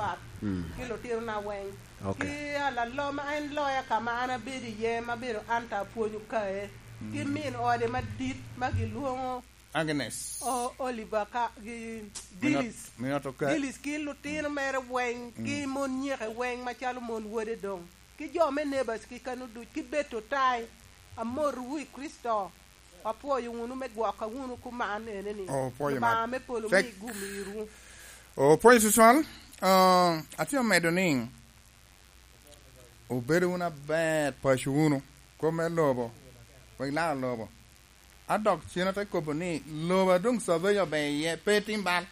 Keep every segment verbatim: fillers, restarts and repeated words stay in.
Pat, mm, ki lutinona weng. Ok. Ki alaloma en loya ka ma an abedo iye, ma bedo an ta apwonyo kae. Mm. Ki min ode madit ma gilwoŋo Agnes. O-, Oliver ka, gi Minot-, Dillis. Minot Oka-, Dillis ki lutino mere weng, mm, ki mon nyeke weng macalo mon wode doŋ. Ki jo me neighbors ki kano duc, ki beto tai. Amotwu i Kricito. Apwoyo wunu me gwokka wunu kuman ene ni, oh, pwoyo Lubanga me polo mi gum irwu. Oh, pwoyo tutwal. Ah, atye amedo ni, obedo wunu aber, paco wunu, kop me lobo, wek laro lobo. A dok cen ate kobo ni, lobo a doŋ survey obe iye, pe tim bal.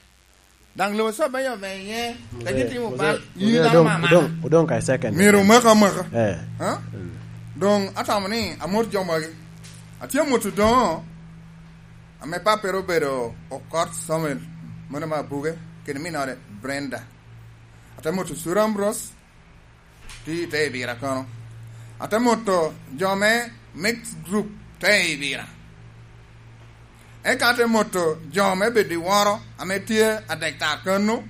Daŋ lobo survey obe iye, te gitimo bal, yin dano mama. Odong, odong ka i second. Myero omaka amaka. Eh. Ha? Mm. Doŋ atamo ni amot jo magi. Atye amot odoŋo, ame pappere obedo Okot Samuel, mano me Abuge, kede minode Brenda. Ate moto Sura Ambrose, tye i te Ibira kono. Ate moto jo me mixed group te Ibira. Eka ate moto jo me bedo i woro ame tye adek tar kano,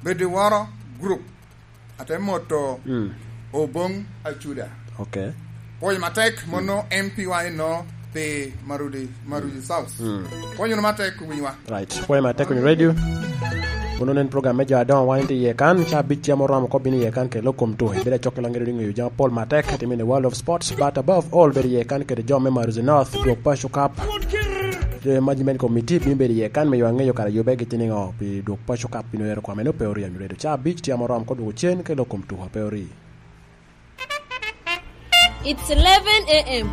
bedo i woro group. Ate moto, mm, Oboŋ Acuda. Ok. Pwoyo matek, mm, mono M P wa eno pi Marudi, Marudi South. Mm. Pwonyo wunu matek, winywa. Right. Pwoyo matek, winyo radio. Mono nen program me jo adoŋo wan tye iye kan, ca abic cem oromo kop bino iye kan kede lok kom tuko. Ibedo acok i lok ŋedo ŋeyo jami apol matek, timo in the world of sports, but above all, bedo iye kan kede jo me Maruzi North, dwok paco kap. Jo me management committee bino bedo iye kan me ywa ŋeyo kara yube gitye niŋo pi dwok paco kap bino ero kwame no pe orio nyuredo. Ca abic tye oromo kop dwoko cen kede lok kom tuko pe orio. It's eleven a m.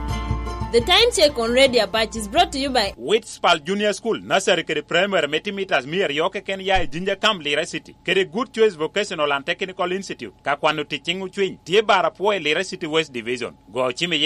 The time check on Radio Apache is brought to you by Witspal Junior School, Nursery kede Primary me timitas mia aryo keken ya i Jinja Camp, Lira City, kede Good Choice Vocational and Technical Institute, ka kwano tic ciŋ ocwiny, tye bar apwo i Lira City West Division. Go cim iye.